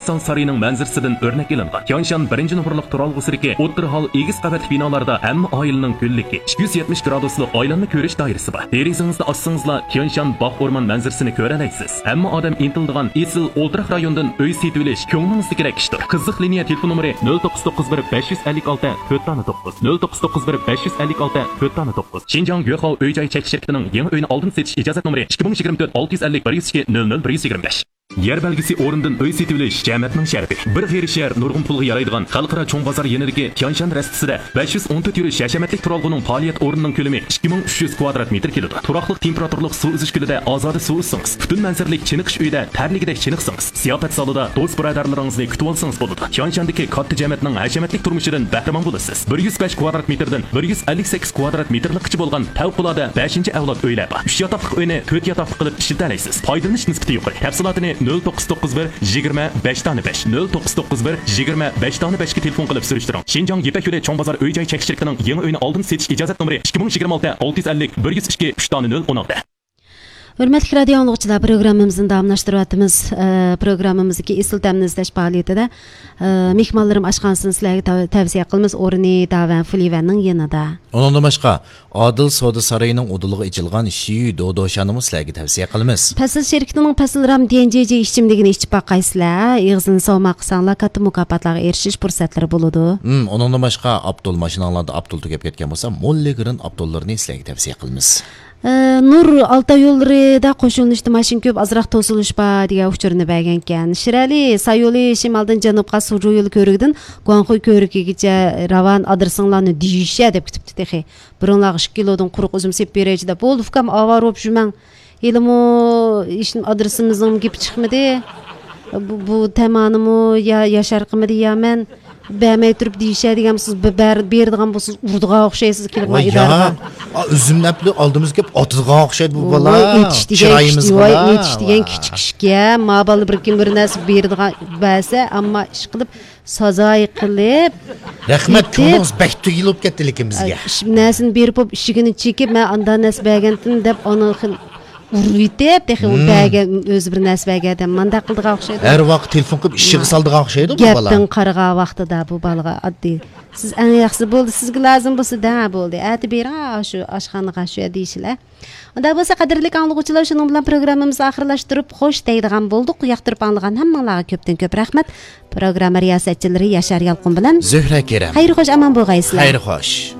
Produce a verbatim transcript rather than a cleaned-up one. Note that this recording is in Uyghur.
تاڭ سارىيىنىڭ مەنزىرىسىدىن ئۆرنەك ئېلىنغان. تيانشان بىرىنچى نومۇرلۇق تۇرالغۇسىدىكى ئوتتۇرا ھال ئېگىز قەۋەتلىك بىنالاردا ھەممە ئائىلىنىڭ گۈللۈكى، ئىككى يۈز يەتمىش گرادۇسلۇق ئايلانما كۆرۈش دائىرىسى بار. دېرىزىڭىزنى ئاچسىڭىزلا، تيانشان باغ ئورمان مەنزىرىسىنى كۆرەلەيسىز. ھەممە ئادەم ئىنتىلىدىغان ئېسىل ئولتۇراق رايوندىن ئۆي سېتىۋېلىش كۆڭلىڭىزدىكىدەك ئىشتۇر. قىزىق لىنىيە تېلېفون نومۇرى: نۆل توققۇز توققۇز بىر، بەش يۈز ئەللىك ئالتە، تۆت دانە توققۇز. نۆل توققۇز توققۇز بىر، بەش يۈز ئەللىك ئالتە، تۆت دانە توققۇز. شىنجاڭ يۆخاۋ ئۆي جاي چەكلىك شىركىتىنىڭ يېڭى ئۆينى ئالدىن سېتىش ئىجازەت نومۇرى: ئىككى مىڭ يىگىرمە تۆت، ئالتە يۈز ئەللىك، بىر يۈز ئىككى، نۆل نۆل، بىر يۈز يىگىرمە بەش. يەر بەلگىسى ئورنىدىن ئۆي سېتىۋېلىش جەمەتنىڭ شەرىپى. بىر غېرىب شەھەر، نۇرغۇن پۇلغا يارايدىغان خەلقئارا چوڭ بازار يېنىدىكى تيانشان رەستىسىدە بەش يۈز ئون تۆت يۈرۈش ھەشەمەتلىك تۇرالغۇنىڭ پائالىيەت ئورنىنىڭ كۆلىمى ئىككى مىڭ ئۈچ يۈز كۋادرات مېتىر كېلىدۇ. تۇراقلىق تېمپېراتۇرىلىق سۇ ئۈزۈش كۆلىدە ئازادە سۇ ئۈزسىڭىز، پۈتۈن مەنزىرىلىك چېنىقىش ئۆيىدە تەرلىگۈدەك چېنىقسىڭىز، زىياپەت زالىدا دوست-بۇرادەرلىرىڭىزنى كۈتۈۋالسىڭىز بولىدۇ. تيانشاندىكى كاتتا جەمەتنىڭ ھەشەمەتلىك تۇرمۇشىدىن بەھرىمەن بولىسىز. بىر يۈز بەش كۋادرات مېتىردىن بىر يۈز ئەللىك سەككىز كۋادرات مېتىرلىكقىچە بولغان پەۋقۇلئاددە بەشىنچى ئەۋلاد ئۆيلەر بار. ئۈچ ياتاقلىق ئۆينى تۆت ياتاقلىق قىلىپ ئىشلىتەلەيسىز. پايدىلىنىش نىسبىتى يۇقىرى. تەپسىلاتىنى نۆل توققۇز توققۇز بىر، يىگىرمە، بەش دانە بەش، نۆل توققۇز توققۇز بىر، يىگىرمە، بەش دانە بەشكە تېلېفون قىلىپ سۈرۈشتۈرۈڭ. شىنجاڭ يىپەك يولى چوڭ بازار ئۆي جاي چەكلىك شىركىتىنىڭ يېڭى ئۆينى ئالدىن سېتىش ئىجازەت نومۇرى: ئىككى مىڭ يىگىرمە ئالتە، ئالتە يۈز ئەللىك، بىر يۈز ئىككى، ئۈچ دانە نۆل، ئون ئالتە. ھۆرمەتلىك رادىيو ئاڭلىغۇچىلار، پروگراممىمىزنى داۋاملاشتۇرۇۋاتىمىز. ئە، پروگراممىمىزدىكى ئېسىل تەمنى ئىزدەش پائالىيىتىدە، ئە، مېھمانلىرىم ئاشخانىسىنى سىلەرگە تەۋ-، تەۋسىيە قىلىمىز. ئورنى داۋەن فۇلىۋەننىڭ يېنىدا. ئۇنىڭدىن باشقا، ئادىل سودا سارىيىنىڭ ئۇدۇلىغا ئېچىلغان شىيۈ دودوشانىمۇ سىلەرگە تەۋسىيە قىلىمىز. پەسىل شىركىتىنىڭ پەسىل رام ديەنجىجى ئىچىملىكىنى ئىچىپ باققايسىلەر. ئېغىزىنى ساۋماق قىلساڭلار، كاتتا مۇكاپاتلارغا ئېرىشىش پۇرسەتلىرى بولىدۇ. ھىم، ئۇنىڭدىن باشقا، ئاپتول ماشىناڭلاردا ئاپتول تۈگەپ كەتكەن بولسا، موللىگرىن ئاپتوللىرىنى سىلەرگە تەۋسىيە قىلىمىز. ئە، نۇر ئالتاي يوللىرىدا قوشۇلۇنۇشتا ماشىنا كۆپ، ئازراق توسۇلۇش بار دېگەن ئۇچۇرنى بەرگەنكەن. شىرئەلى، سايولى شىمالدىن جەنۇبقا سۇجۇ يولى كۆۋرۈكىدىن گۇاڭخۇي كۆۋرۈكىگىچە راۋان، ئادرېسىڭلارنى دېيىشە دەپ كۈتۈپتۇ تېخى. بۇرۇنلارغا ئىككى كىلودىن قۇرۇق ئۈزۈم سېلىپ بېرەيچۇ دەپ. بولدى ئۇكام، ئاۋارە بولۇپ يۈرمەڭ. ھېلىمۇ ھېچ ئادرېسىمىزنىڭ گېپى چىقمىدى. بۇ، بۇ تەمانىمۇ يا ياشار قىمىدى يا مەن. بەرمەي تۇرۇپ دېيىشە دېگەن بولسىڭىز، بە-، بەر-، بېرىدىغان بولسىڭىز ئۇرىدىغان ئوخشايسىز كېلىپ ۋاي يا، ئىدارىغا. ئا، ئۈزۈمنى ئەپلى ئالدىمىزغا كېلىپ ئاتىدىغان ئوخشايدۇ بۇ بالا. ۋوي، ئېتىش دېگەن كىچىك، چىرايىمىزغا ۋوي، بالا. ئېتىش دېگەن كىچىك ئىشكەن. ما بالا بىر كىم بىر نەرسە بېرىدىغان بەرسە، ئەمما ئىش قىلىپ سازاي قىلىپ رەھمەت، كۆڭلىڭىز بەك تۈگۈل بولۇپ كەتتى لېكىن بىزگە. ئىش، نەرسىنى بېرىپ بولۇپ ئىشىكىنى چېكىپ، مەن ئاندا نەرسە بەرگەنتىم دەپ ئانا خىل ئۇرۇۋېتىپ، تېخى ئۇ بەرگەن، ئۆزى بىر نەرسە بەرگەن ئادەم مانداق قىلىدىغان ئوخشايدۇ. ھەر ۋاقىت تېلېفون قىلىپ ئىشىكىگە سالىدىغان ئوخشايدۇ بۇ بالا. گەپتىن قارىغان ۋاقتىدا بۇ بالىغا ئاددىي. سىز ئەڭ ياخشىسى بولدى، سىزگە لازىم بولسا دەڭ بولدى. ئەتە بېرىڭ شۇ ئاشخانىغا شۇ دېيىشىلە. ئۇنداق بولسا، قەدىرلىك ئاڭلىغۇچىلار، شۇنىڭ بىلەن پروگراممىمىزنى ئاخىرلاشتۇرۇپ خوش دەيدىغان بولدۇق. ياقتۇرۇپ ئاڭلىغان ھەممىڭلارغا كۆپتىن كۆپ رەھمەت. پروگرامما رىياسەتچىلىرى ياشار يالقۇن بىلەن زۆھرە كېرەم. خەير خوش، ئامان بولغايسىلەر. خەير خوش.